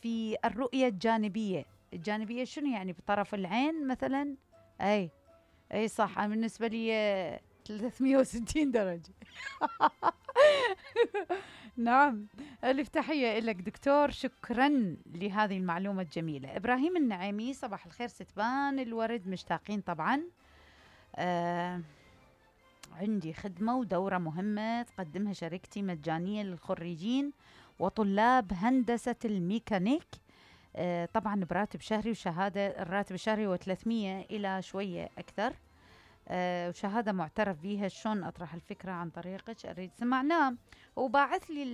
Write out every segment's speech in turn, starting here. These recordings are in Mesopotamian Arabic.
في الرؤية الجانبية. الجانبية شنو يعني؟ بطرف العين مثلا. أي صح، أنا بالنسبة لي 360 درجة. نعم. ألف تحية لك دكتور، شكرا لهذه المعلومة الجميلة. إبراهيم النعيمي، صباح الخير ستبان الورد، مشتاقين طبعا. عندي خدمة ودورة مهمة تقدمها شركتي مجانية للخريجين وطلاب هندسة الميكانيك. طبعا براتب شهري وشهادة. الراتب الشهري هو 300 إلى شوية أكثر. وشهادة معترف بيها. شلون أطرح الفكرة عن طريقك؟ أريد سمعناه. وباعث لي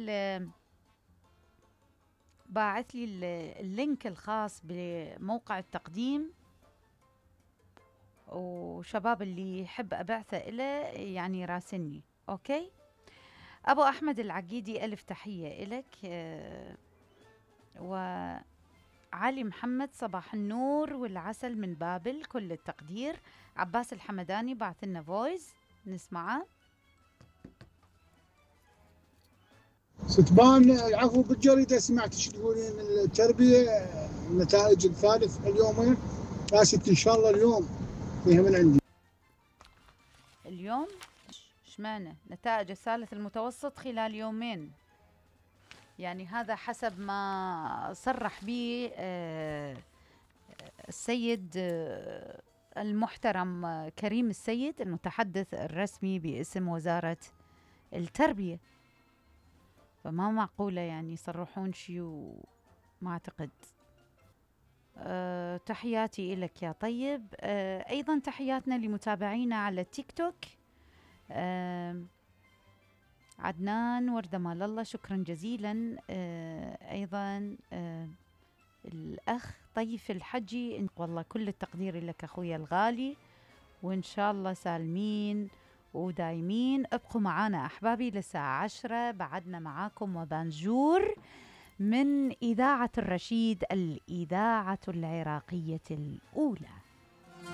اللينك الخاص بموقع التقديم، وشباب اللي يحب أبعثه إله يعني راسلني. أوكي. أبو أحمد العقيدي، ألف تحية إلك. وعلي محمد، صباح النور والعسل من بابل، كل التقدير. عباس الحمداني بعث لنا فويس نسمعه. ستبان العفو، بالجريدة سمعت شو تقولين التربية النتائج الثالث اليومين. يا ستي إن شاء الله اليوم فيها من عندي. اليوم اشمعنى نتائج الثالث المتوسط خلال يومين؟ يعني هذا حسب ما صرح به السيد المحترم كريم السيد، المتحدث الرسمي باسم وزارة التربية. فما معقولة يعني يصرحون شيء وما أعتقد. تحياتي إلك يا طيب. أيضا تحياتنا لمتابعينا على التيك توك. عدنان وردة مال الله، شكرا جزيلا. أيضا الأخ طيف الحجي، والله كل التقدير لك أخويا الغالي، وإن شاء الله سالمين ودايمين. ابقوا معانا أحبابي للساعة 10، بعدنا معاكم وبانجور من إذاعة الرشيد، الإذاعة العراقية الأولى.